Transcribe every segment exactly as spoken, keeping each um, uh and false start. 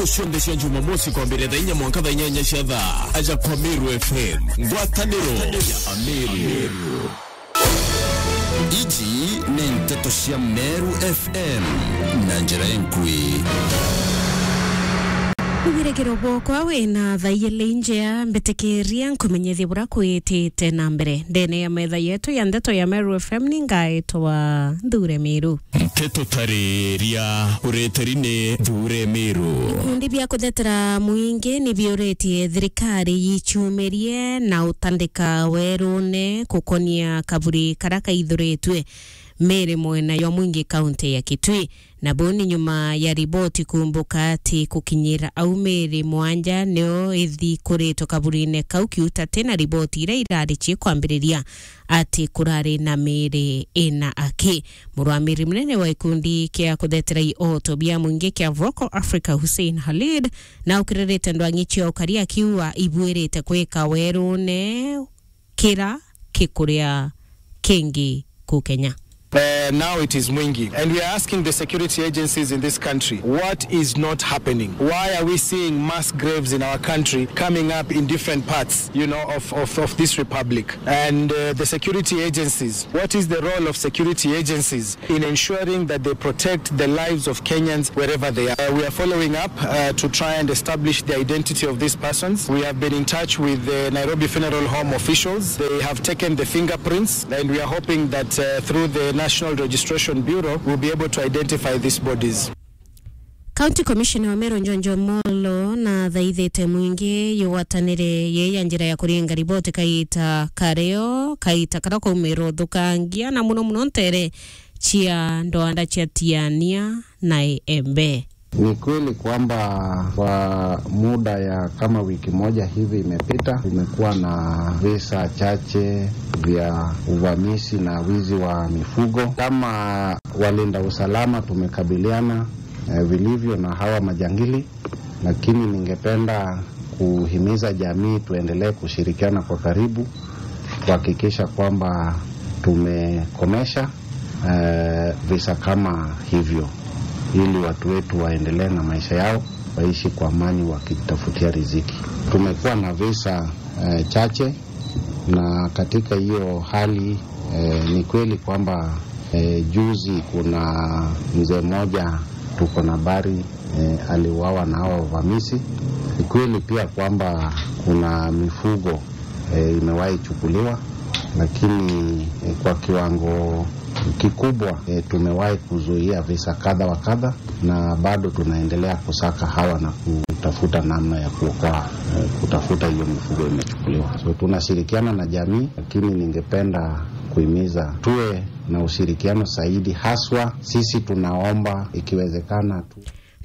Cionthe cia Jumamosi kwambĩrĩria thaa inya mwanka thaa inyanya cia thaa, aja kwa Meru F M. Ngwatanĩro ya Ameru. Iji nĩ nteto cia Meru F M na njĩra enkui. Wĩrĩgĩro bwokwa wĩna thaa igĩrĩ njea, mbĩtĩkĩria nkũmenyithie bũrĩa kwĩtĩte na mbere. Ndene ya metha yetu ya ndeto ya Meru F M nĩ ngaĩtwa Nthure Meru. Nteto tarĩria ũreteri nĩ Nthure Meru. Ikundi bia kũthetera mũingĩ nĩ biũrĩtie thirikari yichumĩrie na ũtandĩka werũne kũkonia kaburi karia kaithũrĩtue mĩĩrĩ mwena ya Mwingi kaunti ya Kitui. Na buu ni nyuma ya riboti kuumbuka ati kukinyira au mĩĩrĩ mwanja nio ithikũritwe kaburine kau kiuta ti na riboti iria irari cie kwambiriria ati kurari na miiri ina aki. Murwamiri munene wa gikundi kia kuthetera ioto bia mwingi kia Vocal Africa, Hussein Khalid, na ukiririte ndwang'i cia ukari akiuga ibuirite kwika werune kira kikuria kingi ku Kenya. Uh, now it is Mwingi. And we are asking the security agencies in this country, what is not happening? Why are we seeing mass graves in our country coming up in different parts, you know, of, of, of this republic? And, uh, the security agencies, what is the role of security agencies in ensuring that they protect the lives of Kenyans wherever they are? Uh, we are following up, uh, to try and establish the identity of these persons. We have been in touch with the Nairobi Funeral Home officials. They have taken the fingerprints, and we are hoping that, uh, through the National Registration Bureau, we'll be able to identify these bodies. County Commissioner wa Meru Njonjo Molo na thaithite mwingi yugwatanire ye ya njira ya kuringa riboti kaita kario, kaita karia kwaumira uthukangia, na muno muno ntere cia ndwanda cia Tiania na Embe. Ni kweli kwamba kwa muda ya kama wiki moja hivi imepita, tumekuwa na visa chache vya uvamizi na wizi wa mifugo. Kama walinda usalama, tumekabiliana, eh, vilivyo na hawa majangili, lakini ningependa kuhimiza jamii tuendelee kushirikiana kwa karibu kuhakikisha kwamba tumekomesha, eh, visa kama hivyo, ili watu wetu waendelee na maisha yao, waishi kwa amani wakitafutia riziki. Tumekuwa na visa, eh, chache, na katika hiyo hali, eh, ni kweli kwamba, eh, juzi kuna mzee mmoja tuko na habari, eh, aliuawa na hawa wavamizi. Ni kweli pia kwamba kuna mifugo, eh, imewahi chukuliwa, lakini, eh, kwa kiwango kikubwa, eh, tumewahi kuzuia visa kadha wa kadha, na bado tunaendelea kusaka hawa na kutafuta namna ya kuokoa, eh, kutafuta hiyo mifugo imechukuliwa. So tunashirikiana na jamii, lakini ningependa kuhimiza tuwe na ushirikiano zaidi, haswa sisi tunaomba ikiwezekana tu.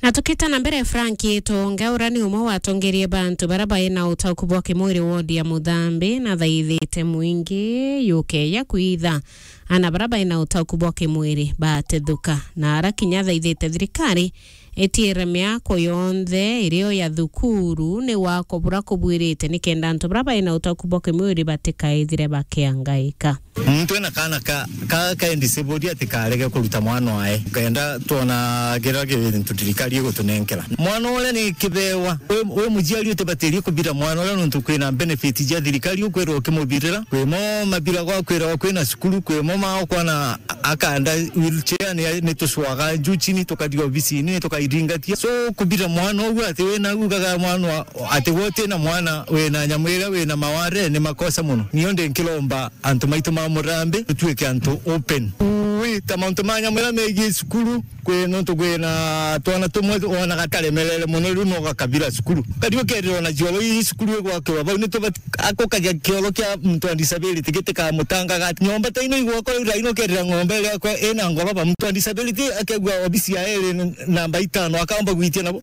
Na tukita na mbere, Frank Itonga, uria ni umwe watongerie bantu baria bai na utauku bwa kimwiri wodi ya Muthambi, na thaithite mwingi yukeya kwitha ana baria bai na utauku bwa kimwiri batethuka, na ara kinya thaithite thirikari itiire miako yonthe irio ya thukuru ni wako buria kubwirite, nikenda antu baria bai na utauku bwa kimwiri batikaithire bakiangaika. Muntu ena kaana ka, ka, ka disabled ati karege kuruta mwana wae. Ukenda twona kiria kintu thirikari igutunenkera. Mwana uria ni kibewa. We, we muciari utibatirie kubira mwana uria nontu kwina benefit cia thirikari ukwirwa ukimubirira. Kwimo mabira gwa kwirwa kwina cukuru, kwimo ma ukwana akanda wheelchair ni, ni tucwaga juu chini tukathi obisini tukairingatia. So kubira mwana ugu ati wina ugaga mwana wa, ati wote na mwana wina nyamu iria wina maware ni makosa muno. Nio ndi nkiromba antu maitu ma Murambi, tutuike antu open. Ui, ta mauntu ma nyamu iria megie cukuru, kwi nontu kwina twana tumwe wonaga taremerere muno, riu no gakabira cukuru. Kari ukerira ona cioro ii cukuru igwakirwa bau, ni tubati akukagia kioro kia muntu wa disability gitikamutangaga. Nyomba ta ino igwakwa riu, ino ukerira ng'ombe iria kwa ina ngoroba, muntu wa disability akegua obisi ya iri namba itano, akaomba gwitia nabo.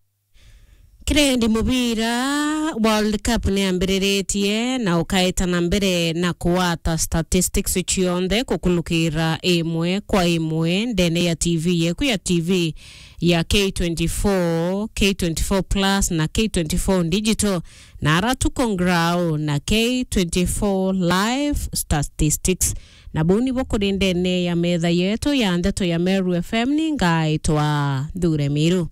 Kirendi mubira, World Cup ni yambiriritie na ukaeta na mbere na kuwata statistics cionthe kukulukira imwe kwa imwe ndene ya T V yeku ya T V ya K twenty-four, K twenty-four Plus na K twenty-four Digital, na ara tuko ngrau na K twenty-four Live Statistics. Na buu nibo kuri ndene ya metha yetu ya ndeto ya Meru F M, ni ngaitwa Nthure Miru.